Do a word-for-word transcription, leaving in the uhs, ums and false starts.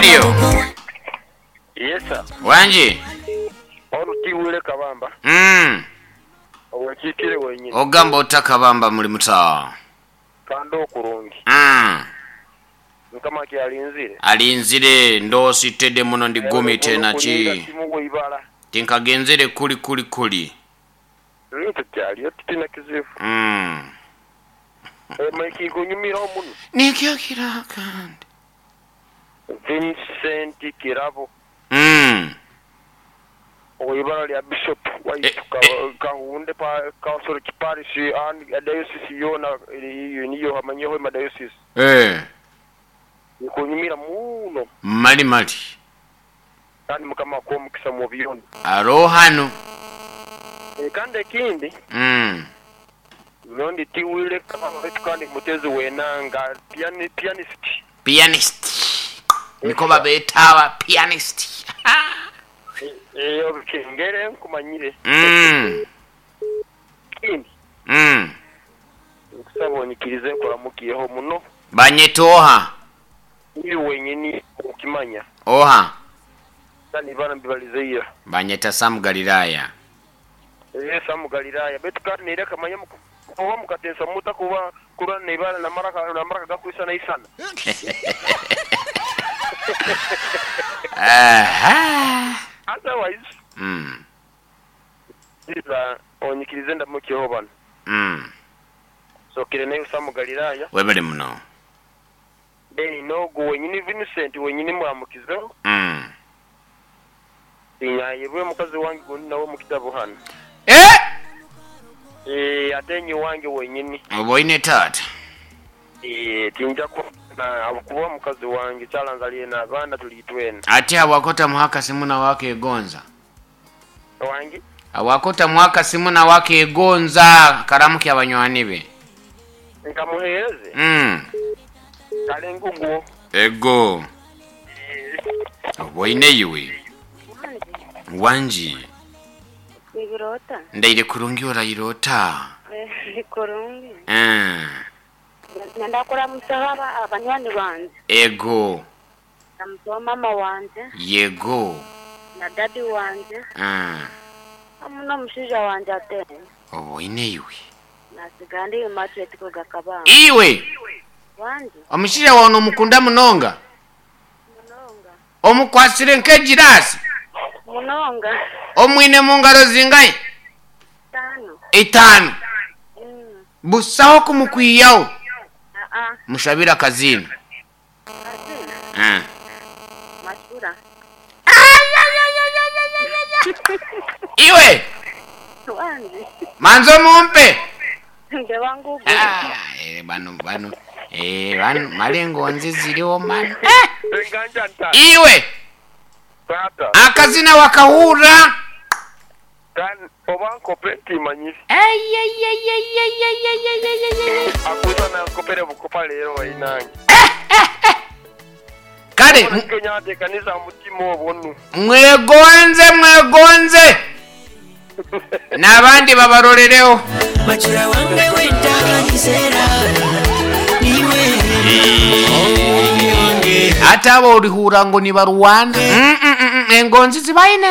Radio. Yes, sir. Wangi. Olutiwule Kabamba. Mm. Owekiikire wenyini. Ogamba ota Kabamba muli muta. Kandi okurungi. Mm. Mukama kyalinzire. Alinzire ndosi tede muno ndigumite naki. Kimu ibala. Tinkagenzere kuli kuli kuli. Rintu kyaliyo titina kizibu. Mm. Emaiki kunyumira omuno. Nikyo kirakandi. Vincent Kirabo. Mm. Oibala lya Bishop waitu Eh, ka Kahunde pa Council Parish and diocese yona iyo niyo hamanyeho ma diocese. Eh. Nikunyumira muno. Mali mali. Kandi Mukama akuwe omukisa mu byona. Arohano. E, kandi ekindi Mm. nondi tiwile Kabamba kandi mutezi wenanga piani, pianist. Pianist. Niko babetawa pianist. Eyo bikengere nkumanyire. Mm. Kindi Mm. nkusaba onyikirize nkuramukiyeho muno. Banyetoha. Iri wenyini okimanya. Oha. Kandi bana mbibalizeira. Banyeta Sam Galilaya. Ee Sam Galilaya betu kandi nire kamanya kuba mukatesa muta kuba kura nibala na maraka na maraka gakuisa na isana. Aha. Otherwise Mm. iza onyikirize ndamukiyeho bano. Mm. Sokire nayo Sam Galilaya. Webale muno. Then nogu wenyini Vincent wenyini mwamukizeho. Mm. Inyayebwe mukazi wange gundi nawe mu kitabo hano. Eh! Eh atenyi wange wenyini. Oboine tata. Eh tinja ku na kuba mukazi wange kyalanzaliye n'abaana tulitwena. Ate awakota muhaka simuna wake egonza. Wange Awakota muhaka simuna wake egonza karamuki abanywani be. nkamuheereze Mm. kale nguguo. Ego. Oboine iwe. Wanji. Nibirota. Ndaire kurungi orairota. Eh, kurungi. Mm. Nenda musaba abanywani banje. Ego. Namusoba mama wanje Yego. na dadi wanje Mm. hamwe n'omushaija wanje atene. Oboine iwe. Nasiga ndi Immaculate Kabamba. Iwe. Wanje Omushaija wawe nomukunda munonga. munonga. Omukwasire nk'egirasi. Munonga. Omwine mu ngaro zingahi? Tano. Itaano. Mm. Busaho kumukwiyaho. Ah ah. Mushabira akazina. Azina. Mm. Mashura. Iwe. Wanje. Manzo mumpe. Nde wangu. Ah, eh, bano bano eh bano malengo nzi ziriho mano. Eh, Enganja nta. iwe Tata. akazina wakahura. Kan oba nkope timanyire. Ay ay ay ay ay ay ay ay ay ay. Akuza na nkopere bukopa leero wainange. Kale m- Kenya ateekaniza mutima obonu. mwegonze mwegonze n'abandi babarorereho. Machura wange wentanisera niwe Ate abo orihura ngo nibarwana. Mm, mm, mm, mm, engonzi zibaine.